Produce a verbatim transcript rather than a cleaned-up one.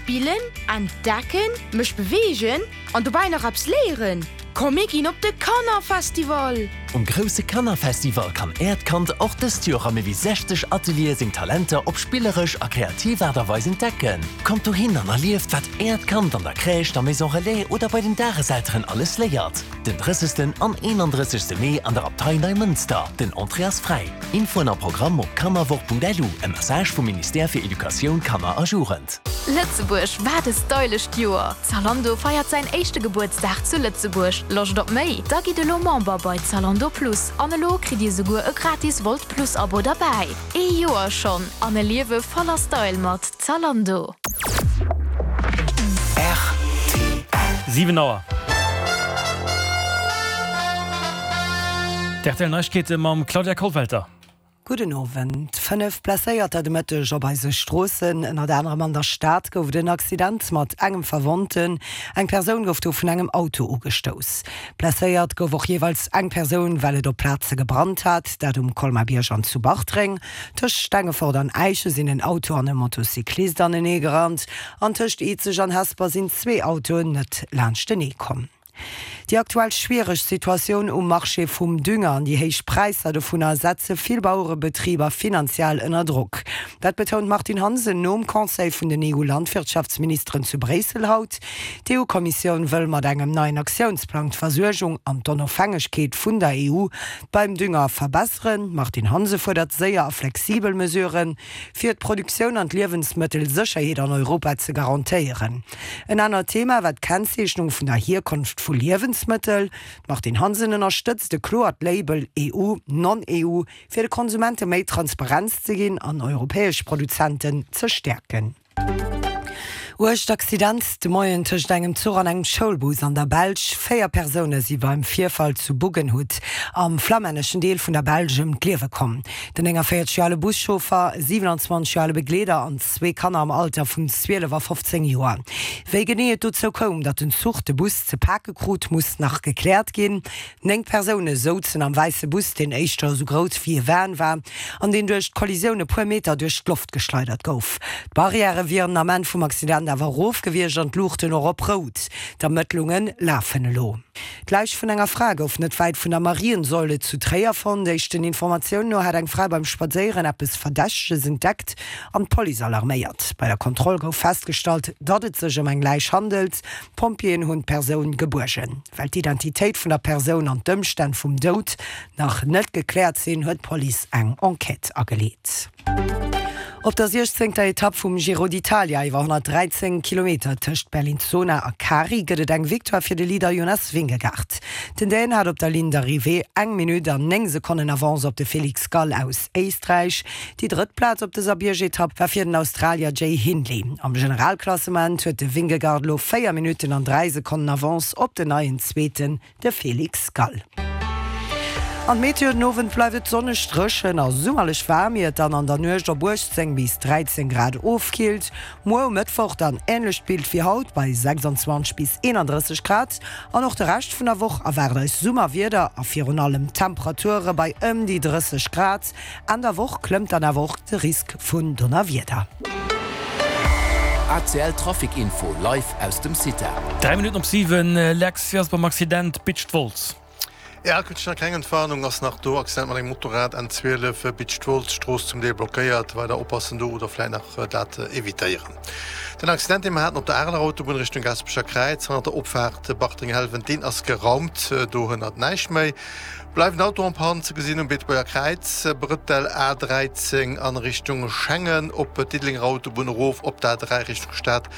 Spillen, entdecken, mech beweegen an dobäi nach eppes léieren? Komm mir ginn op de Kannerfestival! Um grousse Kannerfestival kann Äert Kand och dëst Joer a méi wéi sechzeg Ateliere seng Talenter op spilleresch a kreativ Aart a Weis entdecken. Kommt dohin an erlieft, wat Äert Kand an der Crèche, der Maison Relais oder bei den Dageselteren alles léiert. Den drëssegsten an eenandrëssegste Mee an der Abtei Neimënster. Den Entrée ass fräi. Infoen a Programm op kannerwoch Punkt L U. E Message vum Ministère fir Educatioun, Kanner a Jugend. Lëtzebuerg, wat e stylescht Joer! Zalando feiert säin éischte Gebuertsdag zu Lëtzebuerg. Loscht op méi? Da gitt elo Member bei Zalando Plus an elo kritt dir souguer e gratis Wolt Plus Abo derbäi. Ee Joer schonn an e Liewe voller Style mat Zalando. Siwen Auer. D'R T L Neiegkeete mam Claudia Kollwelter. Gudden Owend. Fënnef Blesséierter de Mëtteg op eise Stroossen. Ënnert anerem an der Stad gouf et en Accident mat engem Verwonnten. Eng Persoun gouf do vun engem Auto ugestouss. Blesséiert gouf och jeeweils eng Persoun, well et op Plaze gebrannt hat, dat um Colmar-Bierg an zu Bartreng. Tëscht Stengefort an Äischen sinn en Auto an e Motocyclist anenee gerannt. An tëscht Izeg an Hesper sinn zwee Autoen net laanschtenee komm. Déi aktuell schwiereg Situatioun um Marché vum Dünger an déi héich Präisser dovunner setze vill Bauerebetriber finanziell ënner Drock. Dat betount d'Martine Hansen nom Conseil vun den E U-Landwirtschaftsministeren zu Bréissel haut. D'E U-Kommissioun wëll mat engem neien Aktiounsplang d'Versuergung an d'Onofhängegkeet vun der E U beim Dünger verbesseren. D'Martine Hansen fuerdert séier a flexibel Mesuren, fir d'Produktioun an d'Liewensmëttelsécherheet an Europa ze garantéieren. En anert Thema war d'Kennzeechnung vun der Hierkonft vu Liewensmëttel. D'Martine Hansen ënnerstëtzt e kloert Label E U, Non-E U, fir de Konsumente méi Transparenz ze ginn an europäesch Produzenten ze stäerken. Uergt Accident de Moien tëscht engem Zuch an engem Schoulbus an der Belsch. Véier Persoune si beim Virfall zu Buggenhout am flammänneschen Deel vun der Belsch ëm d'Liewe komm. Den nénganvéierzeg Joer ale Buschauffer, e siwenanzwanzeg Joer ale Begleeder an zwee Kanner am Alter vun zwielef a fofzéng Joer. Wéi genee et dozou koum, datt den Zuch de Bus ze pake krut, muss nach gekläert ginn. Néng Persoune souzen am wäisse Bus, deen éischter esou grouss wéi e Van war an deen duerch d'Kollisioun e puer Meter duerch d'Loft geschleidert gouf. D'Barrièrë wieren den Ament vum Accident awer erof gewiescht an d'Luuchten och op Rout. D'Ermëttlunge lafen elo. D'Läich vun enger Fra gouf net wäit vun der Mariensäule zu Tréier fonnt. Éischten Informatiounen no hat eng Fra beim Spadséieren eppes Verdächteges entdeckt an d'Police alarméiert. Bei der Kontroll gouf festgestallt, datt et sech ëm eng Läich handelt. D'Pompjeeën hunn d'Persoun gebuergen. Well d'Identitéit vun der Persoun an d'Ëmstänn vum Doud nach net gekläert sinn, huet d'Police eng Enquête ageleet. Op der siechzéngter Etapp vum Giro d'Italia iwwer honnertdräizéng Kilometer tëscht Bellinzona a Cari gëtt et eng Victoire fir de Leader Jonas Vingegaard. Den Dän hat op der Ligne d'Arrivée eng Minutt an néng Sekonnen Avance op de Felix Gall aus Éisträich. Déi drëtt Plaz op dëser Biergetapp war fir den Australier Jay Hindley. Am Generalklassement huet de Vingegaard elo véier Minutten an dräi Sekonnen Avance op den neien Zweeten, de Felix Gall. An d'Meteo, Den Owend bleift et sonneg, dréchen a summerlech waarm, ier et dann an der Nuecht op uechtzéng bis dräizéng Grad ofkillt. Muer um Mëttwoch dann änlecht Bild wéi haut bei sechsanzwanzeg bis eenandrësseg Grad. An och de Rescht vun der Woch erwaart eis Summerwieder a virun allem Temperature bei ëm déi drësseg Grad. Enn der Woch klëmmt dann awer och de Risk vun Donnerwieder. A C L Trafic Info live aus dem Cita. Dräi Minutten op siwen, Lex, wéi ass et beim Accident Bitsch-Wolz? Ja, kuerz nach keng Entwarnung ass nach do. Accident mat engem Motorrad, N zwielef, Bitsch-Wolz, Strooss zum Deel blockéiert. Weider oppassen do oder vläit nach dat evitéieren. Den Accident, dee mer haten op der Areler Autobunn Richtung Gaasperecher Kräiz, hannert der Opfaart Bartreng-Helwen, deen ass geraumt. Do hënnert näischt méi. Bleiwen Auto en panne ze gesinn um Beetebuerger Kräiz, Brëttel A dräizéng an Richtung Schengen, op d'Diddelenger Autobunn erof op d'A dräi Richtung Stad.